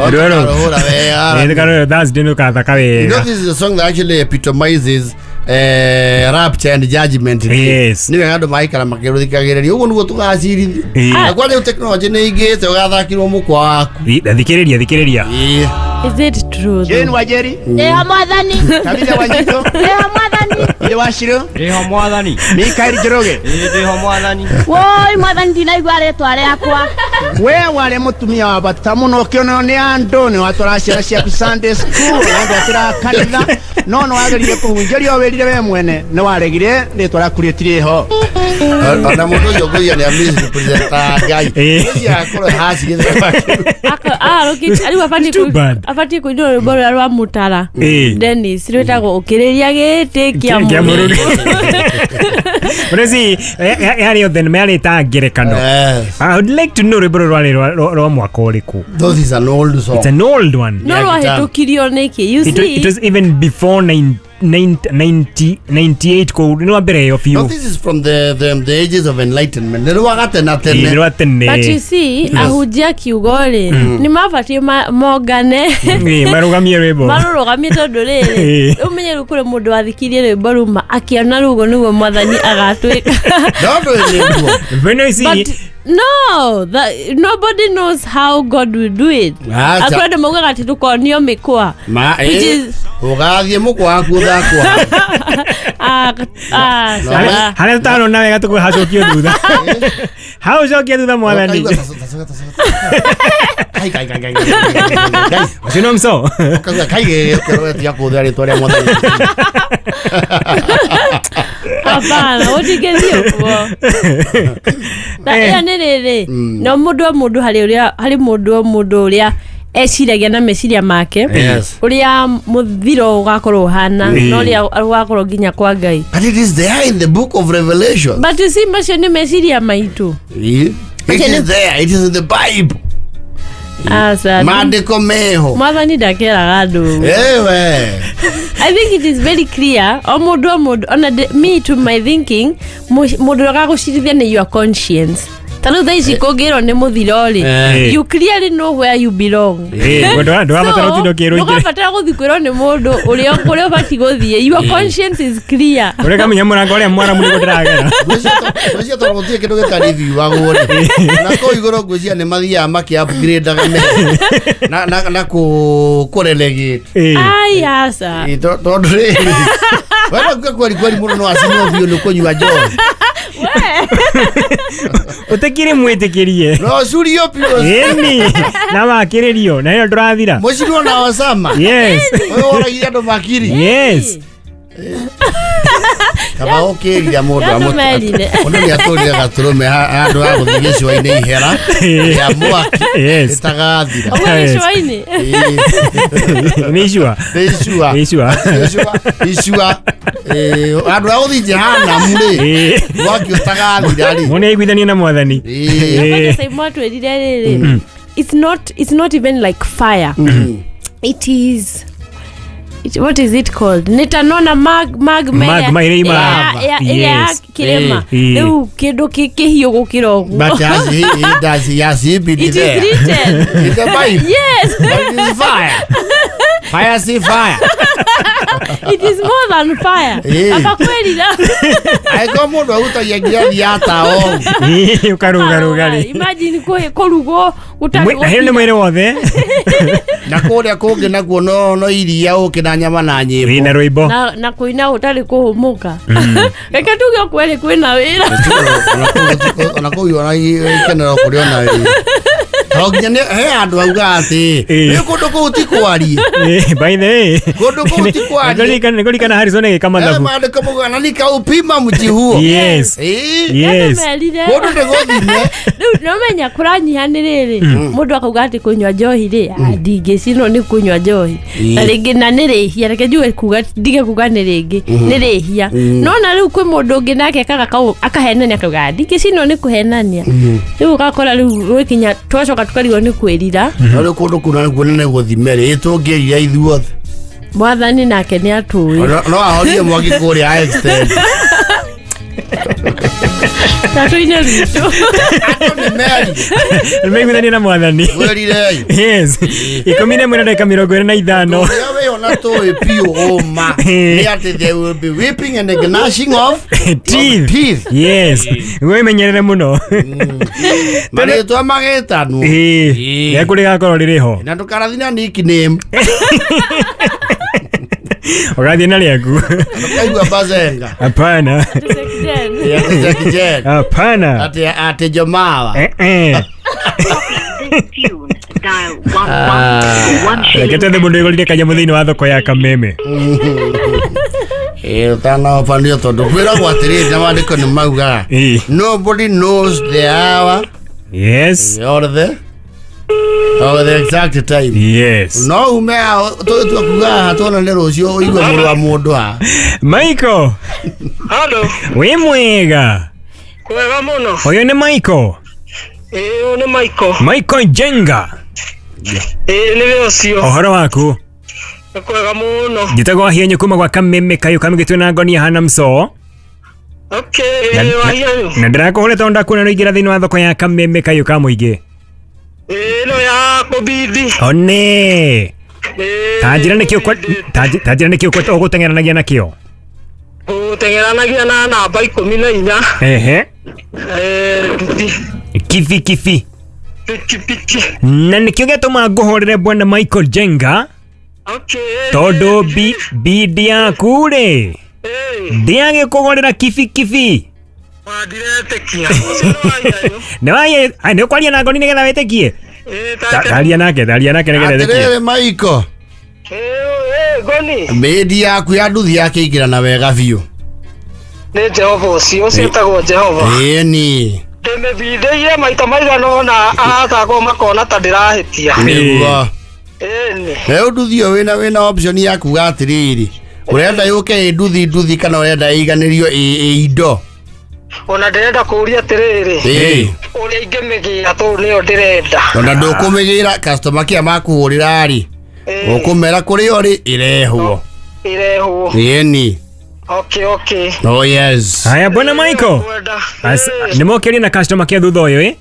Rwĩmbo wega. Thursday nĩ ũkathaka You know, wega. this is a song that actually epitomizes rapture and judgment. Yes. Nĩ wega andũ maikara makĩrũthikagĩrĩria ũguo nĩguo tũgacirithio. Ĩĩ. Na kwa rĩu tekinoronjĩ nĩ ĩingĩhĩte ũgathakirwo mũkwa waku. Thikĩrĩria thikĩrĩria. Ĩĩ. Is it true though? Jane Wajeri, Ndĩho mwathani. Tabitha Wanjito, Ndĩho mwathani. Ile Washiro, Ndĩho mwathani. Mikael Njoroge. Ĩĩ ndĩho mwathani. Woi mwathani ndinaigua rĩtwa rĩakwa. We warĩ mũtumia wa bata mũno ũkĩonwo nĩ andũ nĩ watwara ciana ciaku Sunday school na ndwatĩra kanitha no nĩ wageririe kũhunjĩria wĩrire we mwene nĩ waregire rĩtwa rĩaku rĩtirĩ ho. Ona mũndũ ũcio ngũiya nĩ amisrepresentaga Ngai. Ĩĩ. Ũcio akorwo haci gĩthemba kĩu. Rĩu abatiĩ Too bad. abatiĩ kũinĩrwo rwĩmbo rũrĩa rwa mũtara Ĩĩ. Dennis rwĩtagwo ũkĩrĩria gĩtĩ kĩa Kĩa Mũrungu. But see, yarĩ o thenema yarĩ ta ngerekano. Yes. I would like to know rwĩmbo rũrũ rwarĩ rwa mwaka ũrĩkũ. Though this is an old song. It's an old one. No Yeah, guitar. rwahĩtũkirio nĩkĩ? You It, see? it was even before 98 kũu nĩ rwa mbere ĩyo No, biũ. this is from the ages of enlightenment. Nĩ rwa gatene Ĩĩ, tene. nĩ rwa tene. But you see, ahunjia kiugo rĩ nĩ mabatiĩ mongane Ĩĩ, marũgamie rwĩmbo. marũrũgamie tondũ rĩrĩ Ĩĩ. ũmenye rĩu kũrĩ mũndũ wathikirie rwĩmbo ruma akĩona rũgo nĩguo mwathani agatwĩka. No ndũĩ nĩguo. But no, you see, But no, nobody knows how God will do it. Acha. Akwĩ andũ maugaga atĩ tũkonio mĩkwa. Ma, Which ĩĩ, is- ũgathiĩ mũkwa waku ũthakwo. Ah, ah, No, sawa. harĩa tũtarona wega tũkũhacokio thutha. Hau cokia thutha mwathani. Ũkaigua taco, taco, taco, taco. Kai, kai, kai, kai, kai, kai, kai, kai. Ũcio no mso. Ũkaigua, kai, ũkerwo tiga kũhũthĩra rĩtwa rĩa mwathani. Hapana, ũtingĩthiĩ ũguo. Na ĩyo nĩ rĩrĩ, no mũndũ o mũndũ harĩ ũrĩa harĩ mũndũ o mũndũ ũrĩa eciragia na meciria make Yes. ũrĩa mũthiro ũgakorwo ũhana na ũrĩa ũgakorwo nginya kwa Ngai. But it is there in the book of Revelation. But you see, macio nĩ meciria maitũ. Ĩĩ. It is there. It is in the Bible. Aca. Maandĩko meho. Mwathani ndakeraga andũ ũguo. Ewe. I think it is very clear o mũndũ o mũndũ ona me to my thinking mũndũ ũrĩa ũgagũcirithia nĩ your conscience ta rĩu thaa ici kũngĩrwo nĩ mũthiro rĩ, Eh. you clearly know where you belong. Ĩĩ, ndũrabatara ũtinde ũkĩrwo ingĩ. Ndũgabatara gũthiĩ kwĩrwo nĩ mũndũ ũrĩa kũrĩa ũbatiĩ gũthiĩ. Your conscience is clear. Ũrĩa kamenya mũrango ũrĩa mwaramu nĩguo ndĩragera. Ngwĩciria tondũ gũtirĩ kĩndũ gĩtarĩthiagwo rĩ na kũu igũrũ ngwĩciria nĩ mathiaga makĩ-upgrade-aga na kũrelegate. Ĩĩ. Ai aca. Ĩ, tondũ rĩrĩ we no kuga kweri kweri mũndũ no acinwo biũ nĩ kũnyua njohi. Ũtekire mwĩtĩkĩrie. No curio biũ. Ĩni na wakĩrĩrio na ĩyo ndũrathira. Mũcinwo na Osama. Yes. Ũyũ woragire andũ makiri. Yes. Kaba ũkĩrira mũndũ Yatũmerire. mũndũ nĩ atũrire gatũrũme handũ ha gũthiĩ gĩcũa-inĩ ihera rĩa mwaki Yes. rĩtagathira. Ũguo Yes. gĩcũa-inĩ. Ĩ. Nĩ icua. Nĩ icua. Nĩ icua. Icua. Icua. Ĩ, handũ ha gũthiĩ jehanamu rĩ Ĩĩ. mwaki ũtagathira rĩ. Mũndũ nĩaiguithanie na mwathani. Ĩ. Ĩĩ. Saimu atwĩrire rĩrĩ, it's not even like fire. It is what is it called? Nĩ ta nona magma Magma ĩrĩa imaga. ĩrĩa ya Yes. kĩrĩma Ĩĩ. rĩu kĩndũ kĩhiũ gũkĩra ũguo. But has he, he does he has he been It is there? written. In the Bible. Yes. But it is fire. Fire see fire. It is more than fire. Ĩĩ. Abakwĩrira. Angĩkorwo mũndũ arutagia ngirathi ya tawa ũguo. Ĩĩ, ũkarũgarũga rĩ. Imagine kũrugwo gũtarĩ Na hĩyo nĩ mwĩrĩ wothe. Na kũrĩa kũngĩ nakuo no iria ũkĩ na nyama na Ĩĩ, na nyĩmbo. rwĩmbo. na kũina gũtarĩ kũhũmũka. Reke tuge kweri kwĩna wĩra. Ona kũu ona ikenero kũrĩ ona wĩra. To nginya nĩ he andũ auga atĩ Ĩĩ. rĩu kũndũ kũu ti kwarie. Ĩĩ, by the way. Kũndũ kũu ti kwarie. Nĩngũririkana Harrison agĩka Eh, mathabu. maandĩko maugaga na nikaupima mji huo. Yes. Ĩĩ. Yes. Nĩatũmerire. Kũndũ nĩ gũthime. Rĩu nomenya kũranyiha nĩ rĩrĩ mũndũ akauga atĩ kũnyua njohi rĩ ndingĩcinwo nĩ kũnyua njohi na rĩngĩ na nĩ rĩhia reke njuge kuga ndige kuga nĩ rĩngĩ nĩ rĩhia no na rĩu kwĩ mũndũ ũngĩ nake akaga kau akahenania akauga ndingĩcinwo nĩ kũhenania rĩu ũgakora rĩu gwĩkinya twacoka tũkarigwo nĩ kwĩrira. No rĩu kũndũ kũu nakuo nĩ gũthime rĩ tũngĩrira ithuothe. Mwathani nake nĩ atũĩ. No ahorie mwaki kũrĩa extend. Tatuine rwitũ. Andũ nĩ merire. Nĩmaiguithania na mwathani. Mwĩrirei. Yes. 11:25. Ũrĩa wĩho na tũĩ biũ ũma nĩ atĩ there will be weeping and the gnashing of Teeth. teeth. Yes. Wĩmenyerere mũno. Marĩtwa magĩtanwo. Ĩĩ. Rĩaku rĩgakorwo rĩrĩ ho. Na ndũkarathi na nickname. Ũgathiĩ na rĩaku. Ndũkaigua bazenga. Hapana. Ati Jackie Chan. Hapana. Ati ati Jomawa. Eh eh. Reke twethe mũndũ wĩgũrire kanyamũ thĩinĩ wa thoko ya Kameme. Ĩĩ ũtanaobanio tondũ kwĩragwo atĩrĩrĩ na maandĩko nĩ maugaga Ĩĩ. nobody knows the hour Yes. or the exact time. Yes. No ume haha tũgĩtua kuga haha tuonane rũciũ ũigue mũrũ wa mũndũ haha. Michael, Halo, wĩ mwega. kwega muno. Ũyũ nĩ Michael. Ĩĩ ũyũ nĩ Michael. Michael Njenga. Ĩĩ nĩwe ũcio. Ũhoro waku? Nĩ kwega mũno. Njĩtagwo Wahienyu kuma gwa Kameme kayũ kamĩgĩtwe na ngonia hana mco. Okay, Na- ĩĩ Wahienyu. Na ndĩrakũhũra tondũ ndakuona nĩ ũingĩra thĩinĩ wa thoko ya Kameme kayũ ka mũingĩ. Ĩĩ ĩno ya kũbidi. One. Ĩĩ. Ta njĩra nĩkĩ ta njĩra nĩkĩ ũgũteng'eranagia nakĩo? Gũteng'eranagia na namba 14. Ehe. Ĩĩ nduthi. Kibi kibi. Pikipiki. Na nĩkĩo gĩatũma ngũhũrĩre bwana Michael Jenga Okay. tondũ bidi yaku rĩ Ĩĩ. ndĩagĩkũgũrĩra kibi kibi. Ndiretĩkia. Ũcio nĩ Wahienyu. Nĩ waye nĩ ũkwaria na ngoni nĩgetha wĩtĩkie? Ĩĩ ta Taria nake, taria nake nĩgetha wĩtĩkie. Atĩrĩrĩ Michael, Ĩĩ ngoni. mĩndi yaku ya nduthi yakĩingĩrana wega biũ. Nĩ Jehova ũcio, ũcio etagwo Jehova. Ĩni. Ndĩmĩbindĩire maita maigana ũna aratakwo makona ta ndĩrahĩtia. Nĩguo. Ĩni. Rĩu nduthi ĩyo wĩna option ya kuga atĩrĩrĩ ũrenda yũke ĩ nduthi nduthi kana ũrenda ĩiganĩrio ĩ indo. Ona ndĩrenda kũũria atĩrĩrĩ Ĩĩ. ũrĩa ingĩmĩgĩra tondũ nĩyo ndĩrenda. Ona ndũkũmĩgĩra customer care makũhũrĩra rĩ ũkũmera kũrĩa ũrĩ ĩrehwo. Ĩrehwo. Ĩni. Okay, okay. Oh yes. Haya bwana Michael. Kwenda. Nĩ mokĩrie na customer care thutha ũyũ ĩ?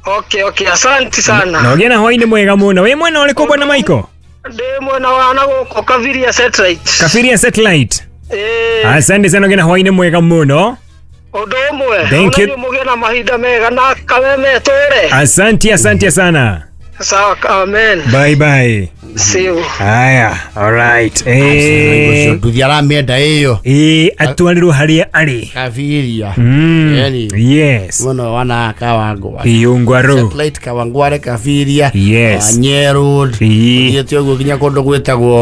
Okay, okay, asante sana. Na ũgĩe na hwaĩ-inĩ mwega mũno. Wĩ mwena ũrĩkũ bwana Michael? Ndĩ mwena wa na gũkũ Kabiria Satellite. Kabiria Satellite. Ĩĩ. Asante sana ũgĩe na hwaĩ-inĩ mwega mũno. Ũndũ ũmwe. Thank you. Ona inyuĩ mũgĩe na mahinda mega na Kameme tũre. Asante, asante sana. Sawa, amen. Bye bye. See you. Haya, all right. Ũcio nduthi aramĩenda ĩyo. Ĩĩ, atwarĩrwo harĩa arĩ. Kabiria. Ĩni. Yes. Mwena wa Kawangware. Iungwaru. Satellite Kawangware Kabiria. Yes. Wanye Road. Ĩĩ. Ũthiĩte ũguo nginya kũndũ gwĩtagwo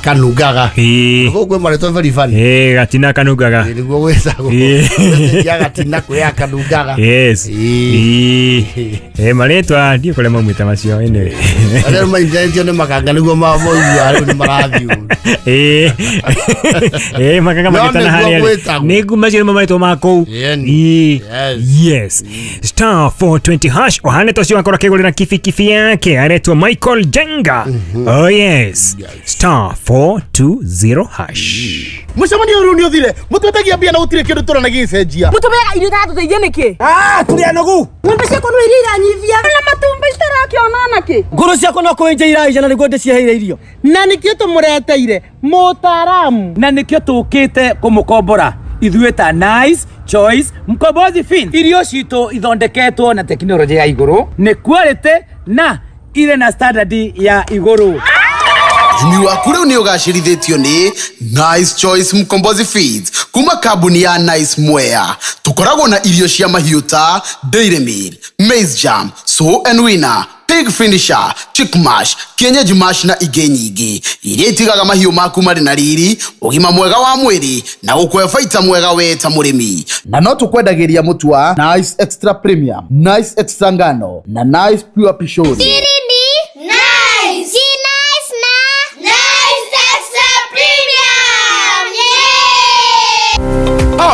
Kanungaga. Ĩĩ. Gũkũ kwĩ marĩtwa very funny. Ĩĩ, gatina kanungaga. Ĩĩ, nĩguo gwĩtagwo. Ĩĩ. Ya gatina kwĩ ya Kanungaga. Yes. Ĩĩ. Ĩĩ. Ĩĩ, marĩtwa ndiũ kũrĩa maumĩte macio anyway. Arĩa rĩu mainjanĩtio nĩ makanga nĩguo maigua rĩu nĩ marathiĩ ũru. Ĩĩ. Ĩĩ, makanga No magĩtana nĩguo harĩa arĩ. gwĩtagwo. Nĩguo macio nĩmo marĩtwa ma kũu. Ĩni. Ĩĩ. Yes. Yes. Star 420 hash ohane tocio akorwo akĩgũrĩra kibikibi yake aretwo Michael Jenga. Oh yes. Star 420 hash. Mũcemanio ũyũ rĩu nĩ ũthire mũtwetagia mbia na gũtirĩ kĩndũ tũrona gĩgĩcenjia. Mũtũmĩaga irio itatũteithia nĩkĩ? Tũrĩ anogu. Ng'ombe ciakwa no iria iranyivia na matumbĩ citarakĩona nakĩ. Ngũrũ ciakwa no kũenja iraija na nĩguo ndĩciheire irio. Na nĩkĩo tũmũreteire mũtaaramu. Na nĩkĩo tũkĩte kũmũkombora ithuĩ ta Nice Choice Mkombozi Fin. Irio citũ ithondeketwo na tekinoronjĩ ya igũrũ, nĩ quality na irĩ na standard ya igũrũ. Ũrĩmi waku rĩu nĩ ũgacĩrithĩtio nĩ Nice Choice Mkombozi Feeds kuma kambuni ya Nice Mwea. Tũkoragwo na irio cia mahiũ ta Dairy Meal, Maize Jam, Sow and Winner, Pig Finisher, Chick Mash, Kienyeji Mash na ingĩ nyingĩ iria itigaga mahiũ maku marĩ na riri, ũgima mwega wa mwĩrĩ na gũkũhe baita mwega we ta mũrĩmi. Na no tũkwendagĩria mũtu wa Nice Extra Premium, Nice Extra Ngano na Nice Pure Pishori. Siri ni Nice. Si nice na Nice Extra Premium. Yeah!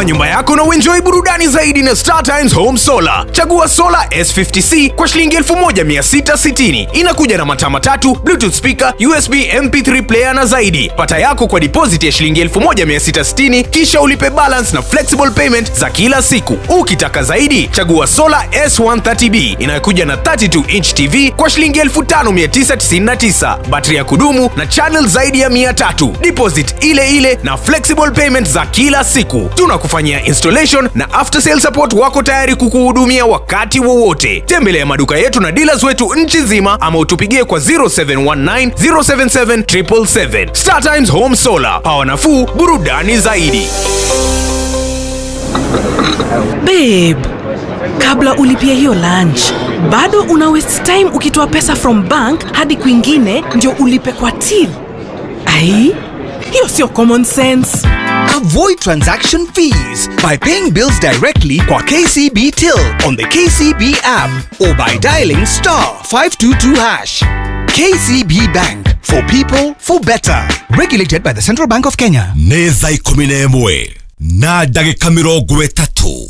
Power nyumba yako na uenjoy burudani zaidi na Star Times Home Solar. Chagua solar S50C kwa shilingi 1660. Inakuja na mataa matatu, Bluetooth speaker, USB MP3 player na zaidi. Pata yako kwa deposit ya shilingi 1660 kisha ulipe balance na flexible payment za kila siku. Ukitaka zaidi, chagua solar S130B inayokuja na 32 inch TV kwa shilingi 5999. Battery ya kudumu na channel zaidi ya 300. Deposit ile ile na flexible payment za kila siku. Tunakufanyia installation na after sale support, wako tayari kukuhudumia wakati wowote. Tembelea maduka yetu na dealers wetu nchi nzima ama utupigie kwa 0719 077 777. Star Times Home Solar, power nafuu, burudani zaidi. Babe, kabla ulipia hiyo lunch, bado una waste time ukitoa pesa from bank hadi kwingine ndio ulipe kwa till. Ai, hiyo sio common sense. Avoid transaction fees by paying bills directly kwa KCB Till on the KCB app or by dialing *522#. KCB Bank, for people, for better. Regulated by the Central Bank of Kenya. Nĩ thaa 11 na ndagĩka 30.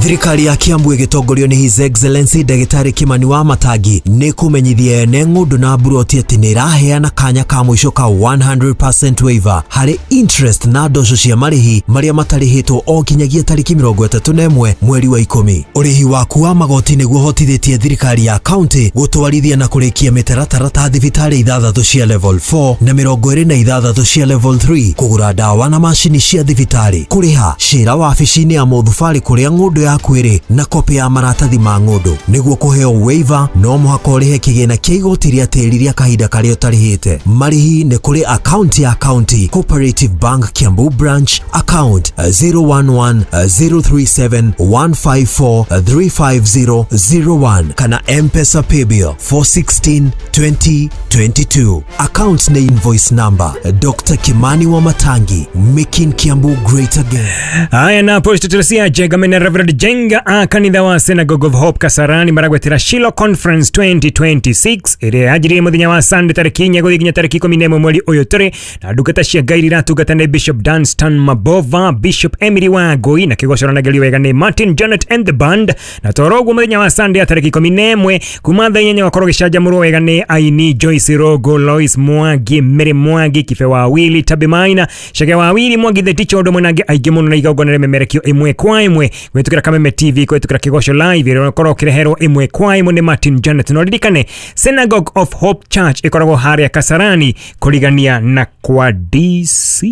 Thirikari ya Kiambu ĩgĩtongorio nĩ His Excellency Ndagĩtarĩ Kimani wa Matangi nĩ kũmenyithia ene ng'ũndũ na mburoti atĩ nĩ ĩraheana kanya ka mũico ka 100% waiver harĩ interest na ndoco cia marĩhi marĩa matarĩhĩtwo o nginyagia tarĩki 31 mweri wa 10. Ũrĩhi waku wa magoti nĩguo ũhotithĩtie thirikari ya county gũtwarithia na kũrĩkia mĩtaratara ta thibitarĩ ithathatũ cia level 4 na 26 cia level 3, kũgũra ndawa na macini cia thibitarĩ, kũrĩha cira wabici-inĩ ya mũthubarĩ kũrĩa ng'ũndũ yaku ĩrĩ na kopĩ ya maratathi ma ng'ũndũ. Nĩguo kũheo waiver, no mũhaka ũrĩhe kĩgĩna kĩa igoti rĩa tĩri rĩa kahinda karĩa ũtarĩhĩte. Marĩhi nĩ kũrĩ akaunti ya County Cooperative Bank, Kiambu Branch, account 011 037 154 35001, kana M-Pesa paybill 416 2022. Account na invoice number Dr. Kimani wa Matangi, making Kiambu great again. Haya, na Apostle Teresia Jenga na Reverend Jenga a kanitha wa Synagogue of Hope Kasarani maragwetera Shiloh Conference 2026 ĩrĩa yanjirie mũthenya wa Sunday tarĩki 4 gũthiĩ nginya tarĩki 11 mweri ũyũ tũrĩ na. Ndungata cia Ngai iratungata nĩ Bishop Dunstan Mabova, Bishop Emily Wangui, na kĩgocoro wega nĩ Martin Janet and the band. Na toro ũguo, mũthenya wa Sunday ya tarĩki 11 kuma thaa 8 wakorwo gĩcanjamũrwo wega nĩ aini Joyce Rogo, Lois Mwangi, Mary Mwangi, Kibe wa Willy, Tabi Maina, Chege wa Willy Mwangi the teacher, ũndũ mwenange aingĩ mũno, na igongona rĩmemerekio ĩmwe kwa ĩmwe kũhĩtũkĩra Kameme TV, kũhĩtũkĩra Kĩgoco Live ĩrĩa ũkorwo ũkĩreherwo ĩmwe kwa ĩmwe nĩ Martin Janet. No ririkane Synagogue of Hope Church ĩkoragwo harĩa Kasarani kũrigania na kwa DC.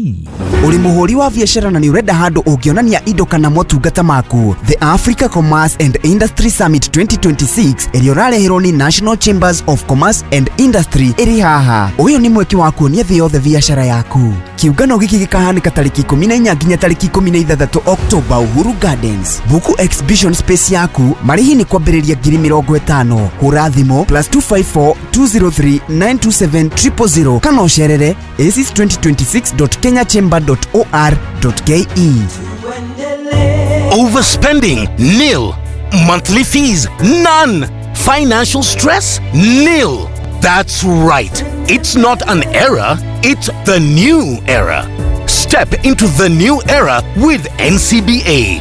Ũrĩ mũhũri wa biacara na nĩ ũrenda handũ ũngĩonania indo kana motungata maku? The Africa Commerce and Industry Summit 2026 ĩrĩa ũrareherwo nĩ National Chambers of Commerce and Industry ĩrĩ haha. Ũyũ nĩ mweke wa kuonia thĩ yothe biacara yaku. Kĩũngano gĩkĩ gĩkahanĩka tarĩki 14 nginya tarĩki 16 Oktoba, Uhuru Gardens. Buku exhibition space yaku. Marĩhi nĩ kwambĩrĩria 50,000. Hũra thimũ +254 203 927 000 kana ũcerere aces2026.kenyachamber.or.ke. Overspending? Nil. Monthly fees? None. Financial stress? Nil. That's right. It's not an era, it's the new era. Step into the new era with NCBA.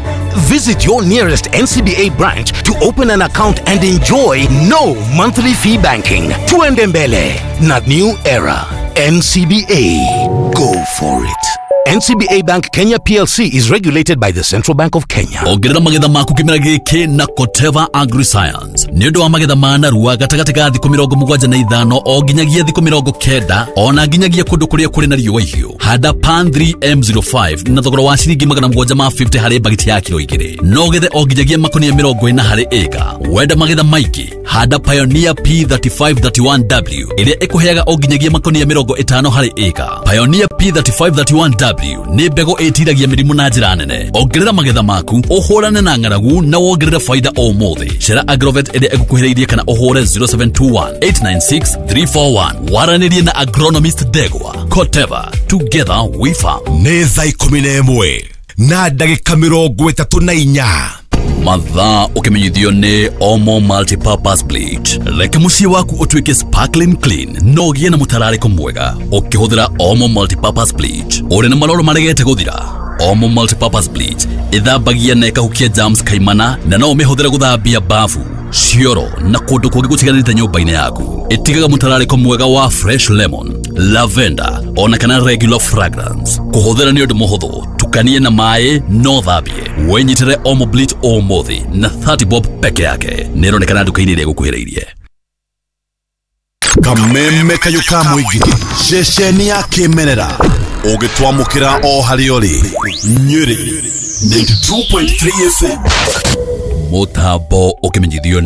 Visit your nearest NCBA branch to open an account and enjoy no monthly fee banking. Tuende mbele na new era. NCBA. Go for it. NCBA Bank Kenya PLC is regulated by the Central Bank of Kenya. Ongerera magetha maku kĩmera gĩkĩ na Koteva Agriscience nĩ ũndũ wa magetha ma narua gatagatĩ ga thikũ 75 o nginyagia thikũ 90, ona nginyagia kũndũ kũrĩa kũrĩ na riũa ihiũ. Handa Pan 3M05 na thogora wa ciringi 750 harĩ bagiti ya kiro 2, no gethe o nginyagia makonia 40 harĩ ĩka. Wenda magetha maingĩ, handa Pioneer P3531W ĩrĩa ĩkũheaga o nginyagia makonia 50 harĩ ĩka. Pioneer P3531W nĩ mbegũ ĩtiragia mĩrimũ na njĩra nene. Ongerera magetha maku, ũhũrane na ng'aragu na wongerere faida ũmũthĩ. Cera agrovet ĩrĩa ĩgũkuhĩrĩirie kana ũhũre 0721 896 341 waranĩrie na agronomist Ndegwa. Koteva, together we farm. Nĩ thaa 11 na ndagĩka 34. Mathaa ũkĩmenyithio nĩ Omo Multipurpose Bleach. Reke mũciĩ waku ũtuĩke sparkling clean no ũgĩe na mũtararĩko mwega ũkĩhũthĩra Omo Multipurpose Bleach. Ũrĩ na maroro maregete gũthira? Omo multipurpose bleach ĩthambagia na ĩkahukia germs kaimana na no ũmĩhũthĩre gũthambia bafu, cioro na kũndũ kũngĩ gũtiganĩte nyũmba-inĩ yaku. Ĩtigaga mũtararĩko mwega wa fresh lemon, lavender ona kana regular fragrance. Kũhũthĩra nĩ ũndũ mũhũthũ, tukanie na maĩ no thambie. Wĩnyitĩre Omo bleach ũmũthĩ na 30 bob peke yake. Nĩ ĩronekana nduka-inĩ ĩrĩa ĩgũkuhĩrĩirie. Kameme kayũ ka mũingĩ ceceni ya kĩmerera ũgĩtwamũkĩra o harĩa ũrĩ Nyĩrĩ 92.3 FM Mũtambo ũkĩmenyithio nĩ